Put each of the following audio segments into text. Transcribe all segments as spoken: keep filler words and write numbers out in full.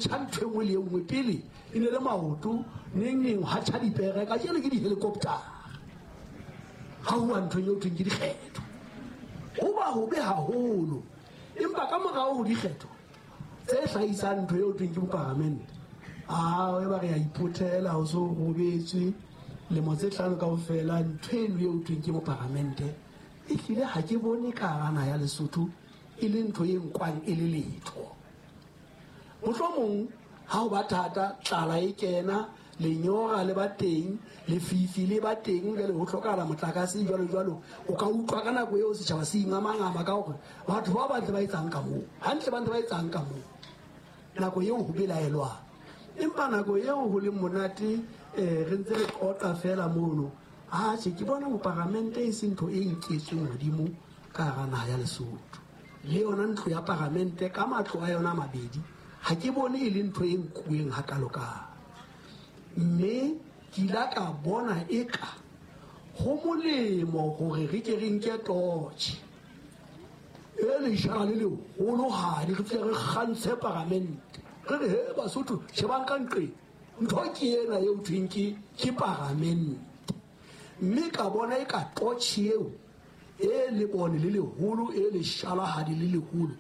Tjha ntho e nngwe le e nngwe pele e ne le maoto, neng neng ha tjha dipere, kajeno ke di-helicopter. Ha ho nthong eo thweng ke dikgetho. Ho ba hobe haholo. Empa ka morao ho dikgetho tse hlahisang ntho eo thweng ke boparamente, ah, e ba re a iphothela ho so robetswe lemo tse hlano kaofela, ntho eno eo thweng ke boparamente e hlile ha ke bone ka hara naha ya Lesotho e le ntho e nkwang e le letho. Mohlomong ha ho ba thata, tlala e kena, lenyora le ba teng, lefifi le ba teng, jwale ho hlokahala motlakase jwalo jwalo. O ka utlwa ka nako eo setjhaba se ingamangama ka hore batho ba ba ntse ba etsang ka moo, hantle ba ntse ba etsang ka moo. Nako eo ho belaelwang. Empa nako eo ho leng monate, eh, re ntse re qoqa feela mono. Atjhe, ke bona boparamente e se ntho e nketsweng hodimo ka hara naha ya Lesotho. Le yona ntlo ya paramente ka matlo a yona a mabedi, ha ke bone e le ntho e nkuweng hakalokalo. Mme ke ile ka bona eka ho molemo hore re ke re nke torch e leshala le leholohadi, re tle re kgantshe paramente. Re re, he Basotho, shebang ka nqeng, ntho ke ena eo thweng ke, ke paramente. Mme ka bona eka torch eo e lebone le leholo, e leshalahadi le leholo,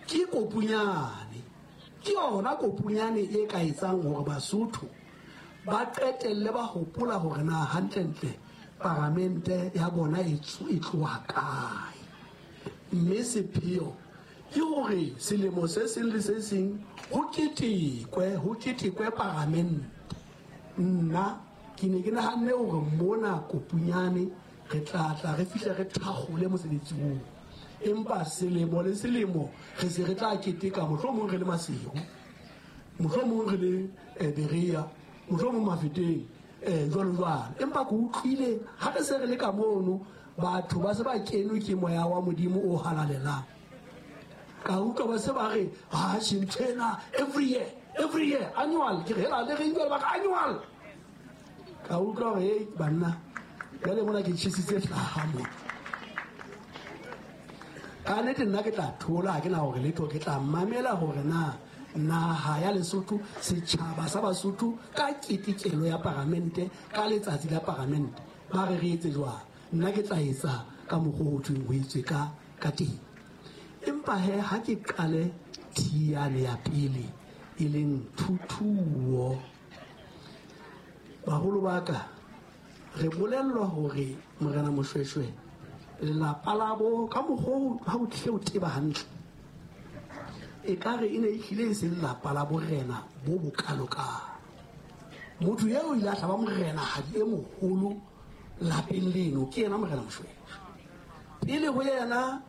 ke kopunyane. Ke yona kopunyane e ka etsang hore Basotho ba qetelle ba hopola hore na hantlentle paramente ya bona e e tloha kae. Mme sepheo ke hore selemo se seng le se seng ho ketekwe, ho ketekwe paramente. Nna ke ne ke nahanne hore mona kopunyane re tla tla re fihle re thakgole mosebetsi oo. Empa selemo le selemo re se re tla keteka, mohlomong re le Maseru, mohlomong re le eh, Berea, mohlomong Mafeteng, eh, jwalo jwalo. Empa ke utlwile ha re se re le ka mono, batho ba se ba kenwe ke moya wa Modimo o halalelang. Ka utlwa ba se ba re, ha ntho ena every year, every year, annual. Ke re, hela, le reng jwale ba re annual. Ka utlwa hore, hei, banna, jwale mona ke tjhesitse hlaha mona. Ka nnete nna ke tla thola, ha ke na hore letho, ke tla mamela hore na naha ya Lesotho, setjhaba sa Basotho ka ketekelo ya paramente, ka letsatsi la paramente, ba re re etse jwang. Nna ke tla etsa ka mokgwa ho thweng ho etswe ka, ka teng. Empa he, ha ke qale thiane ya pele e leng thuthuo, baholo ba ka, re bolellwa hore Morena Moshoeshoe lelapa la bo ka mokgwa ha o tlile o teba hantle, ekare e ne e hlile e se lelapa la borena bo bokalokalo. Motho eo o ile a hlaba morenahadi e moholo lapeng leno, ke yena Morena Moshoeshoe. Pele ho yena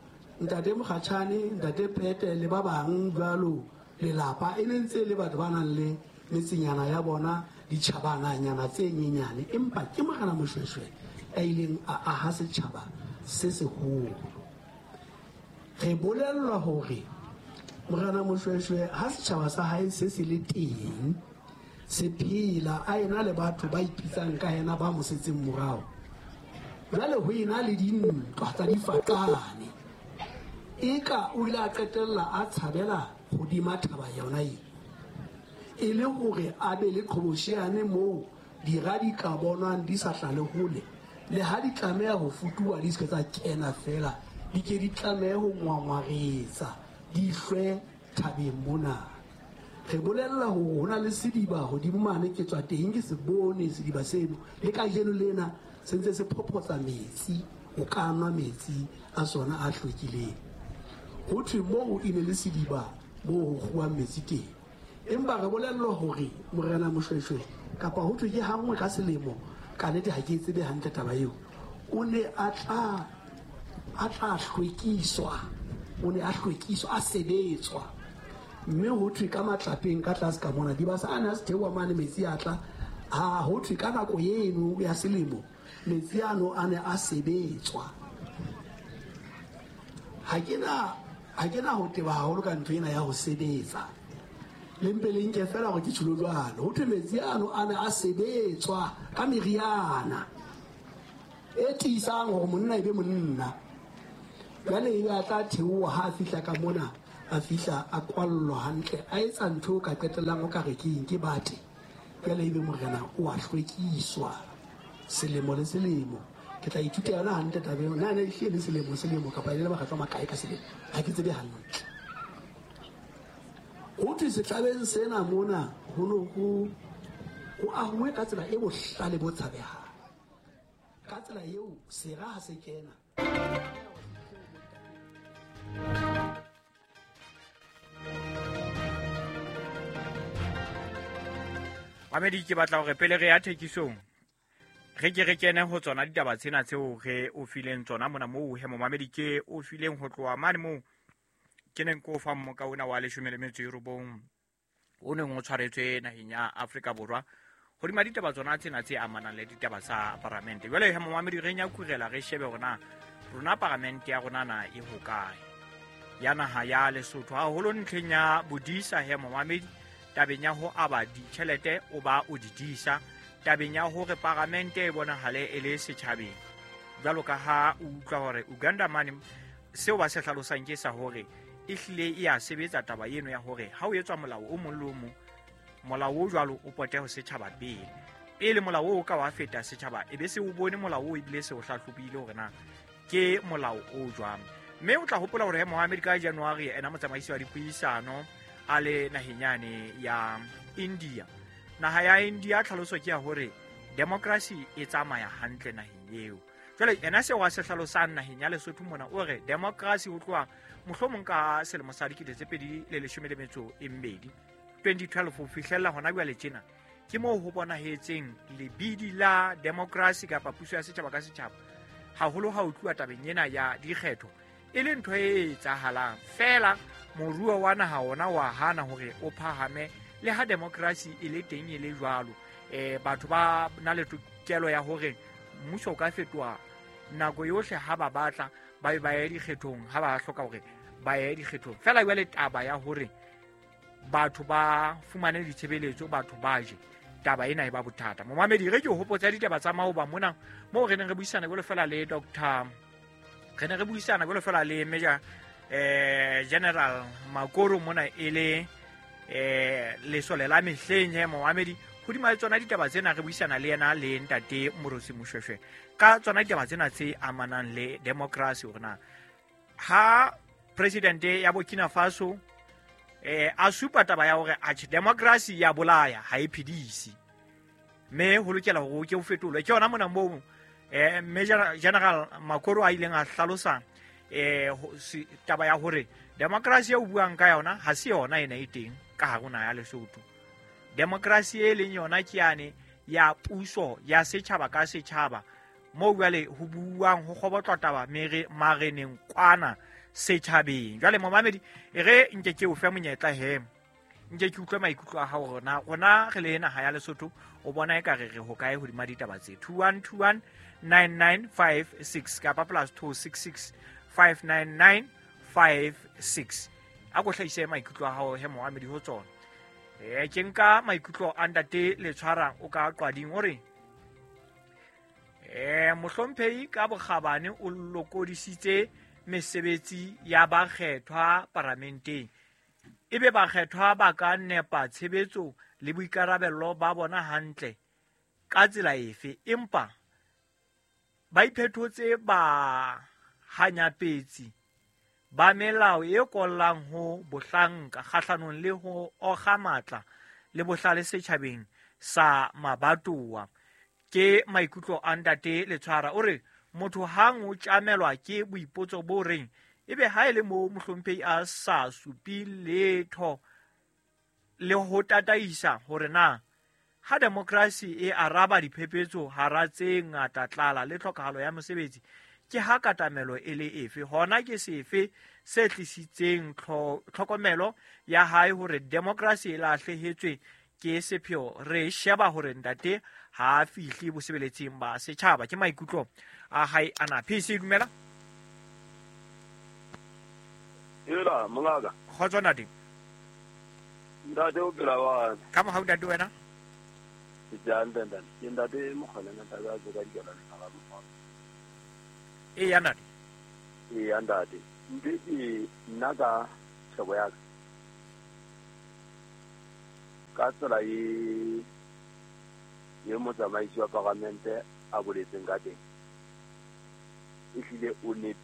ntate Mokgatjhane, ntate Pete le ba bang jwalo, lelapa e ne ntse le batho ba nang le metsenyana ya bona, ditjhabananyana tse nyenyane. Empa ke Morena Moshoeshoe a ileng a aha setjhaba se seholo. Re bolellwa hore Morena Moshoeshoe ha setjhaba sa hae se se le teng, se phela, a ena le batho ba ipitsang ka yena ba mo setseng morao. Jwale ho ena le dintwa tsa difaqane. Eka o ile a qetella a tshabela hodima thaba yona eo, e le hore a be le qhobosheane moo dira di ka bonwang di sa hlale hole, le ha di tlameha ho futuwa di se ke tsa kena feela, di ke di tlamehe ho ngwangwaretsa di hlwe thabeng mona. Re bolella hore ho na le sediba hodimo mane, ke tswa teng ke se bone sediba seno, le kajeno lena se ntse se phophotsa metsi, o ka nwa metsi a sona a hlwekileng. Ho thwe moo e ne le sediba moo ho kguwang metsi teng. Empa re bolellwa hore Morena Moshoeshoe, kapa ho thwe ke hanngwe ka selemo, ka nnete ha ke e tsebe hantle taba eo, o ne a tla, a tla hlwekiswa, o ne a hlwekiswa, a sebetswa. Mme ho thwe ka matlapeng ka tlase ka mona, dibasa a ne a se theoha mane, metsi a tla. Ha ho thwe ka nako eno ya selemo, metsi ano a ne a sebetswa. Ha ke na, ha ke na ho teba haholo ka ntho ena ya ho sebetsa. Le mpe le nke feela hore ke tjholo jwalo. Ho thwe metsi ano a ne a sebetswa ka meriana e tiisang hore monna e be monna. Jwale ebe a tla theoha ha a fihla ka mona, A fihla a kwallwa hantle, a etsa ntho o ka qetellang o ka re ke eng, ke bate. Jwale ebe morena o a hlwekiswa selemo le selemo. Ke tla ithuta yona hantle taba eo. Na ne ehlile le selemo selemo kapa e le makgetlo a makae ka selemo, ha ke tsebe hantle. Ho thwe setlabeng sena mona ho no ho ho ahuwe ka tsela e bohlale bo tshabehang. Ka tsela eo sera ha se kena. Mamedi, ke batla hore pele re ya thekisong re ke re kene ho tsona ditaba tsena tseo re o fileng tsona mona moo he momamedi ke o fileng ho tloha mane moo ke neng ko fa mmoka ona wa leshome le metso e robong o neng o tshwaretswe naheng ya Afrika Borwa hodima ditaba tsona tsena tse amanang le ditaba tsa paramente. Jwale he momamedi re nyakurela re shebe hore na rona paramente ya rona na e hokae ya naha ya Lesotho, haholo ntlheng ya bodisa he momamedi, tabeng ya ho aba ditjhelete o ba o di disa, tabeng ya hore paramente e bonahale e le setjhabeng. Jwalo ka ha o utlwa hore Uganda mane seo ba se hlalosang ke sa hore e hlile e a sebetsa taba eno ya hore ha o etswa molao o mong le o mong, molao o jwalo o pote ho setjhaba pele. Pele molao o ka wa feta setjhaba e be se o bone molao o ebile se o hlahlobile hore na ke molao o jwang. Mme o tla hopola hore Mohammed ka January ena motsamaisi wa dipuisano a le naheng yane ya India. Naha ya India tlhaloso ke ya hore democracy e tsamaya hantle naheng eo. Jwale ena seo a se hlalosang naheng ya Lesotho mona o re democracy ho tloha mohlomong ka selemo sa dikete tse pedi le leshome le metso e mmedi twenty twelve ho fihlella hona jwale tjena, ke moo ho bonahetseng lebidi la democracy kapa puso ya setjhaba ka setjhaba haholo ha o tluwa tabeng ena ya dikgetho e le ntho e etsahalang fela. Moruo wa naha ona wa hana hore o phahame le ha democracy e le teng e le jwalo. Eh batho ba na le tokelo ya hore mmuso o ka fetoha nako yohle ha ba batla, ba be ba ye dikgethong ha ba hloka hore ba ye dikgethong. Fela jwale taba ya hore batho ba fumane ditshebeletso, batho ba je, taba ena e ba bothata. Momamedi, re ke o hopotsa ditaba tsa maoba mona moo re neng re buisana jwalo fela le Doctor re ne re buisana jwalo fela le Major eh General Makoro mona e le eh lesole la mehleng he momamedi. Hodima le tsona ditaba tsena re buisana le yena le ntate Morosi Moshweshwe ka tsona ditaba tsena tse amanang le democracy, hore na ha president ya Burkina Faso eh a supa taba ya hore atjhe democracy ya bolaya ha e phedise, mme ho lokela hore o ke o fetolwe. Ke yona mona moo eh Major General Makoro a ileng a hlalosa eh taba ya hore democracy e o buang ka yona ha se yona ena e teng ka hare ho naha ya Lesotho. Democracy e leng yona ke yane ya puso ya setjhaba ka setjhaba moo jwale ho buang ho kgobotlwa taba mere mareneng kwana setjhabeng. Jwale momamedi e re nke ke o fe monyetla he nke ke utlwe maikutlo a hao rona rona re le naha ya Lesotho o bona e ka re re hokae hodima ditaba tse two one two one nine nine five six kapa plus two six six five nine nine five six. A ko hlahise maikutlo a hao he momamedi ho tsona. Eh ke nka maikutlo a ntate le tshwarang o ka qwading o re eh mohlomphehi ka bokgabane o lokodisitse mesebetsi ya bakgethwa paramenteng, ebe bakgethwa ba ka nepa tshebetso le boikarabello ba bona hantle ka tsela efe, empa ba iphetotse ba hanyapetsi ba melao e kollang ho bohlanka kgahlanong le ho okga matla le bohlale setjhabeng sa mabatowa. Ke maikutlo a ntate Letshwara o re motho hang o tjamelwa ke boipotso bo reng ebe ha e le moo mohlomphehi a sa supi letho le ho tataisa hore na ha democracy e araba diphephetso hara tse ngata tlala le tlhokahalo ya mosebetsi ke ha katamelo e le efe, hona ke sefe se tlisitseng tlhokomelo ya hae hore democracy e lahlehetswe ke sepheo. Re sheba hore ntate ha a fihle bosebeletsing ba setjhaba. Ke maikutlo a hae ana. P C dumela. Ela mongaka. Kgotso ntate. Ntate o phela wa. Ka mohau ntate wena? Ke hantle ntate. Ke ntate Mokgona ntate a tsoka dikela le ga mokgona. E ya ntate. E ya ntate. Ntate nna ka tletlebo ya ka ka tsela e ye motsamaisi wa palamente a boletseng ka teng, ehlile o nepile.